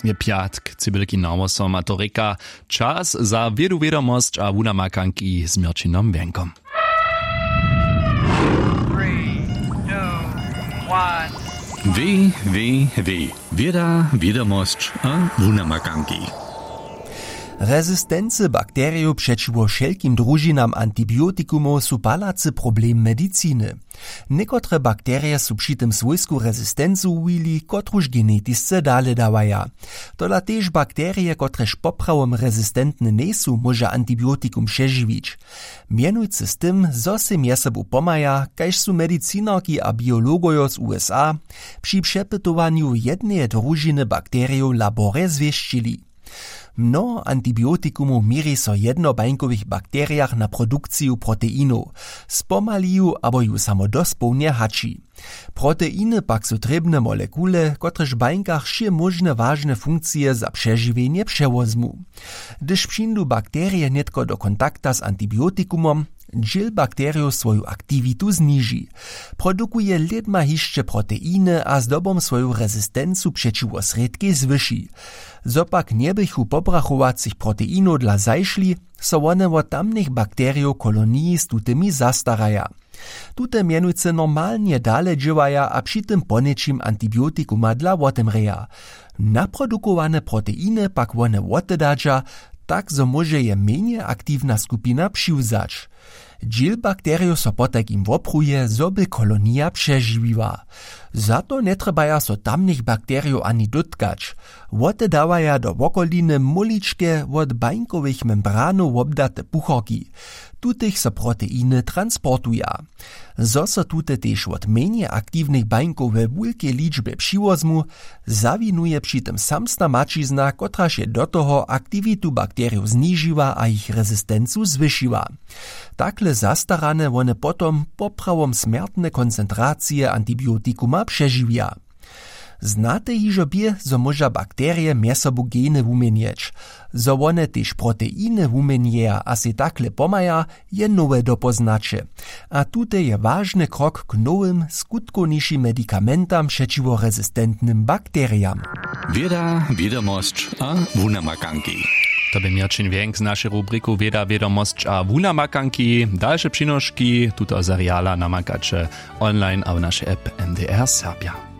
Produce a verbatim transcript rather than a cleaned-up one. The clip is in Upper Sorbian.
Je pjatk, cybylki nawosom a to rěka, čas za wědu wědomosć a wunamakanki z měrćinom wjenkom. Www, wěda wědomosć a wunamakanki. Rezistency bakterijow přećiwo wšelkim družinam antibiotikumow su palacy problem mediciny. Někotre bakterije su při tym swójsku rezistencu wuwili, kotruž genetisce dale dawaja. Tola tež bakterije, kotrež poprawom rezistentne njejsu, móža antibiotikum přežiwić. Mjenujcy z tym, zo sej mjez sobu pomhaja, kaž su medicinarki a biologojo z usa při přepytowanju jedneje družiny bakterijow w laborje zwěsćili. Mnoho antibiotikumow měri so jednobańkowych bakterijach na produkciju proteinow, spomali ju abo ju samo dospołnje haći. Proteiny pak su trěbne molekule, kotrež w bańkach wšě móžne wažne funkcije za přežiwjenje přewozmu. Hdyž přińdu bakterije nětko do kontakta z antibiotikumom, dźěl bakterijow swoju aktiwitu zniži. Produkuje lědma hišće proteiny a zdobom swoju rezistencu přećiwo srědkej zwyši. Zo pak njebychu pobrachowacych proteinow dla zašli, so wone wot tamnych bakterijow koloniji z tutymi zastaraja. Tute mjenujcy normalnje dale dźěłaja a při tym poněčim antibiotikuma dla wotemrěja. Naprodukowane proteiny pak wone wotedadźa, tak zo móže je mjenje aktiwna skupina přiwzać. Dźěl bakterijow so potajkim wopruje, zo by kolonija přežiwiła. Za to njetrjebaja so tamnych bakterijow ani dótkać. Wotedawaja do wokoliny móličke wot bańkowych membranow wobdate puchorki. Tutych so proteiny transportuja. Zo so tute tež wot mjenje aktiwnych bańkow we wulkej ličbje přiwozmu, zawinuje při tym samsna maćizna, kotraž je do toho aktiwitu bakterijow znižiła a jich rezistencu zwyšiła. Takle zastarane wone potom poprawom smjertne koncentracije antibiotikuma přežiwja. Znate hižo bě, zo móža bakterije mjez sobu geny wuměnjeć? Zo wone tež proteiny wuměnjeja a sej takle pomhaja, je nowe dopoznaće. A tute je wažny krok k nowym, skutkownišim medikamentam přećiwo rezistentnym bakterijam. Wěda, wědomosć a wunamakanki. To bě měrćin wjenk z našej rubriku Wěda, wědomosć a wunamakanki. Dalše přinoški tuto seriala namakaće online a w našej app M D R Serbja.